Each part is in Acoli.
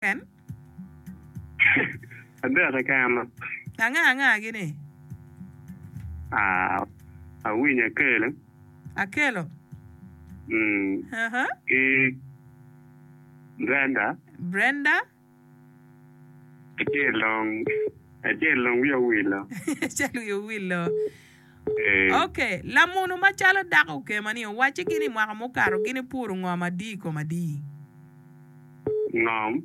Keken? Adek keken. Anga anga gini? Ah, awinyo Akelo. Akelo. Mm. Uh-huh. Ki Brenda. Brenda. Acel dong, acel dong wiya owilo. Acel wiya owilo. Eh. Ok, lamunu macalo dako okema ni owacci gin i mwaka mukato gin ipuro ngom adi i kom adi? Ngom?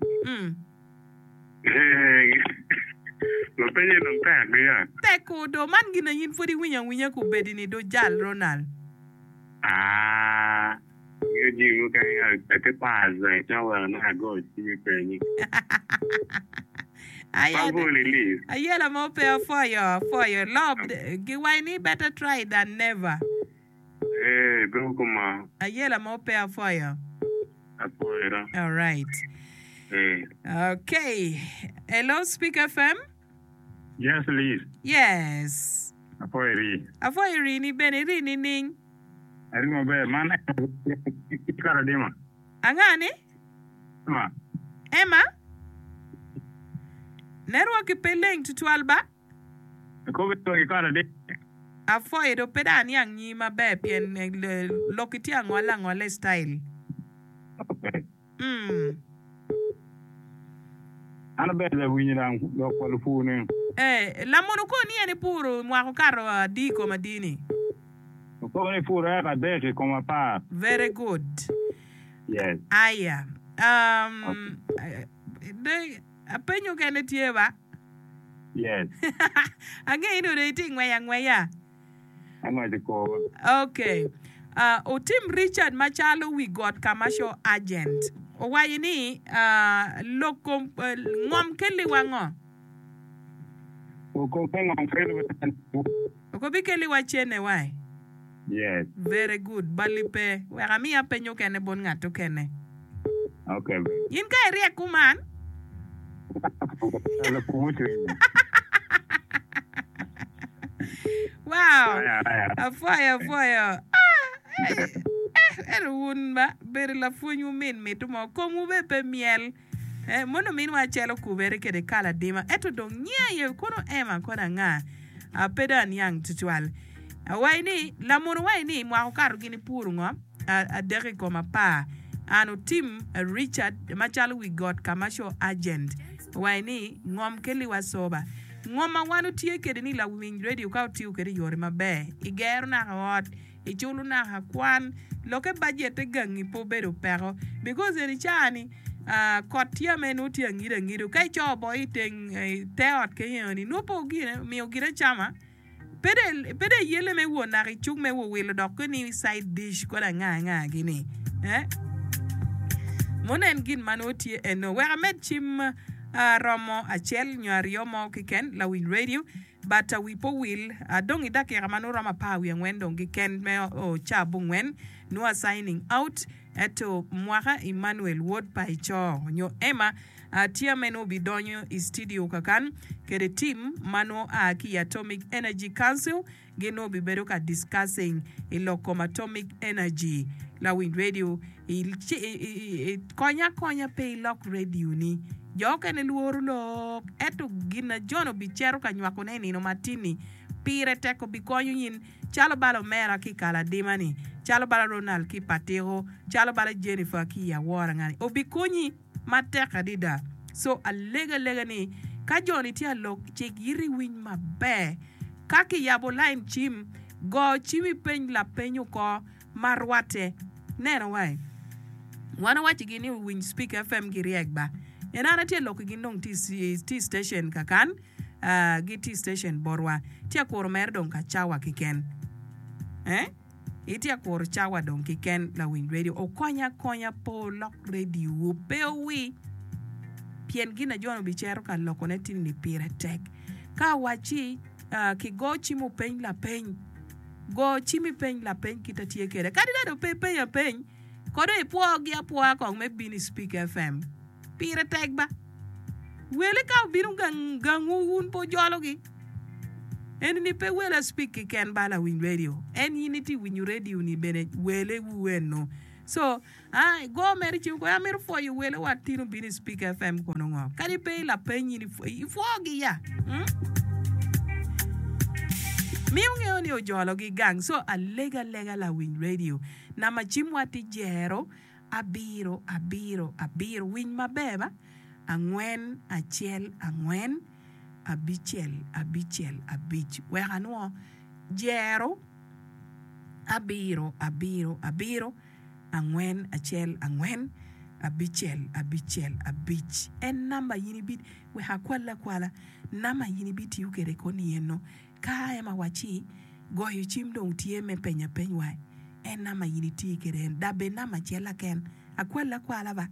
Lapenye dong tek ya. Tek ko do, man gin a in pwod iwinyo awinya kubedi ni do jal Ronald. Aah, angeyo jami mukene atye pas ca weko nongo ago cim i penyi. Ayela mo pe apwoyo, apwoyo. Lob, giwaco ni better try than never. Ee, bedo kuma. Ayela mo pe apwoyo. Apwoyo do. Alright. Ee. Okay. Hello, Speak FM. Yes, Liz. Yes. Apwoyo iri. Apwoyo iri ni bene iri nining? Ari maber. Man Karadima. Anga ni? Emma. Emma? Network pe leng tutwal ba? Apwoyo do pe dong aniang nyingi maber pien lokki tye angolle angolla i style. Mm. An aber lawinyo dang lok pa lupur ni. Eh, lamunu ko ni en ipuro mwaka okato adi i kom adi ni? Okoko ni ipuro eka adek i kom apar. Very good. Yes. Aya. Um, de, apenyo kene tye ba? Yes. Angeyo ni onongo itye ngweyo angweya. Angweco kor. Ok. Uh, otim Richard macalo wi got commercial agent. Owaco ni uh, lok kom uh, ngom kelliwa ngo? Lok kom ngom kelliwa Ok obikeliwa cene wai. Yes. Very good. Bali pe. Wek amiya peny okene bot ngat okene. Okay. In ka iryek kuman. Wow. Apwoyo apwoyo. Ah, eh, eh, ento wun ba bedo lapwony wumin mitu mo komwu be pe myel. Eh, mono ominwa acel okubere kede kala adima, ento dong nyinge aye kono Emma kono anga? Ah, pe dong aniang tutwal. Awaci ni, lamunu waci ni mwaka okato gin ipuro ngo? Ah, adek i kom apar. An otim Richard macalo wi got commercial agent. Owaci ni, ngom keliwa soba. Ngom ma wan otye kede ni lawiny radio ka otiyo kede i yore maber, igero naka ot, Iculo naka kwan lokke bajette gangi pe obedo peko because eni caa ni kot tye ame nongo tye angido angido ka ico boo iteng te ot kenyo ni nongo pe ogine omiyo gin acama pe dong iyelle me wot naka icuk me wilo dok ni side dish kodi anga anga gini eh mono en gin ma nongo tye eno wek amed cim romo acel nyo aryo mo keken lawiny radio. But wi pe owil, adong i dakika ma nongo romo apar wiye angwen dong kiken me o ca abongwen, nongo a signing out, ento mwaka Emmanuel wod pa Ecoo nyo Emma tye me nongo obidonyo i studio kakan kede team ma nongo a ki i Atomic Energy Council gin nongo obibedo ka discussing i lok kom Atomic Energy. Lawiny radio Konya akonya pe ilok radio-ni. Jo okene lworo lok, ento gin na Jon obicito ka nywakone i nino matin-ni pire tek obikonyo in, calo bala omera ki i Kaladima-ni, calo bala Ronald ki i Patiko, calo bala Jennifer ki i Awora-nga-ni. Obikonyi matek adada. So alego alega ni ka jo-ni tye alok, cik iti iwiny maber. Ka kiyabo lain cim, go cim ipeny lapeny oko. ma rwatte neno wa i. Wan owacigi ni owiny Speak FM giryek ba. En an atye lok gin dong tye i station kakan, gitye i station botwa. Tye akuro mere dong ka cawa kiken. Eh? Itye akuro cawa dong kiken lawiny radio. Okonya akonya pe olok radio wu, pe owi. Pien gin a Jon obicero ka lokone tini ni pire tek. Ka awacci kigo cim openy lapeny. Go cim ipeny lapeny kit atye kwede. Kadi dong pe ipenyo apeny, kode ipwogi apwoya kong me bino i Speak FM. Pire tek ba. Wele ka obino gang gangwu wun pe wujologi. Eni ni pe wele Speak keken ba lawiny radio. En in itye winyo radio ni bene wele wu eno. So, ah, igo mere cim ko, amito pwoyo wele wa tin obino i Speak FM kono ngo? Kadi pe i lapeny in ipwogi ya. Mm? Miyo ngeyo ni ojologi gang. So, alega alega lawiny radio. Namba cimwa tye jero abiro abiro abiro. Winy maber ba? Angwen acel angwen abicel abicel abic. Wek anwo jero abiro abiro abiro angwen acel angwen abicel abicel abic. En namba in ibi wek akwal akwala namba in ibitiyo kwede koni eno. Ka en awacci goyo cim dong tye me penyo apeny wa, en namba in iti kwede en dabbe namba acel aken akwal akwala ba.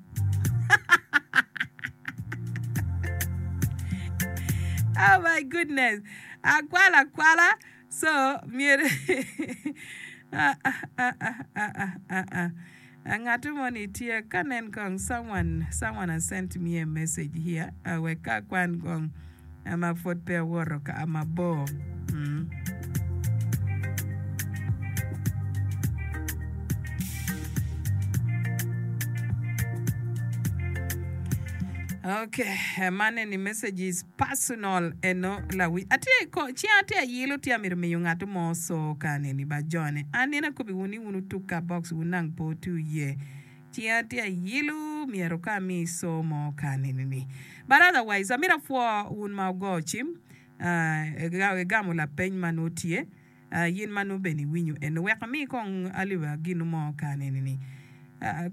Oh my goodness, akwal akwala so myero ah ah ah ah ah ah ah Ngat moni tye ka nen kong someone someone has sent me a message here wek ka akwan kong ma pwod pe awoto ka mabor. Mm. Okay, man eni message is personal eno lawi. Atye ko cinga atye ayilo tye amito miyo ngat mo so ka neni ba jone. An nene akobi wun ni wun wutuk ka box wun nang pe wuti iye. Cinga tye ayilo myero ka ami so mo ka neni ni. But otherwise amito apwo wun ma wugo cim igamo lapeny ma nongo tye. Yin ma nongo bene iwinyo eno wek ami kong alip gino mo ka neni ni.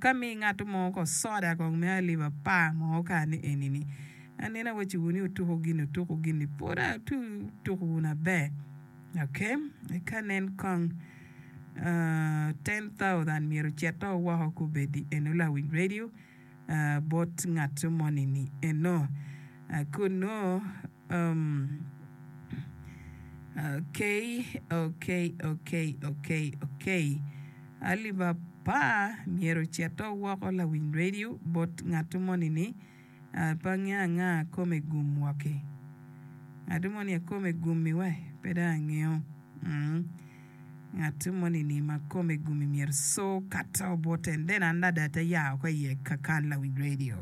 Ka mi ngat mo ko soda kong me alip apar mo ka ni eni ni. Aneno awaci wu ni wutuku gini wutuku gini pud atuku wunu aber. Ok ka nen kong 10,000 myero ocito woko kubedi eno lawiny radio bot ngat moni ni eno. Kunu Ok ok ok ok ok alip apar myero ocito woko lawiny radio bot ngat moni ni pe angeyo anga kome gum woki ngat moni kome gumi we pe dong angeyo ngat moni ni ma kome gumi myero so kato bote then an ada te ya oko iye kakan lawiny radio.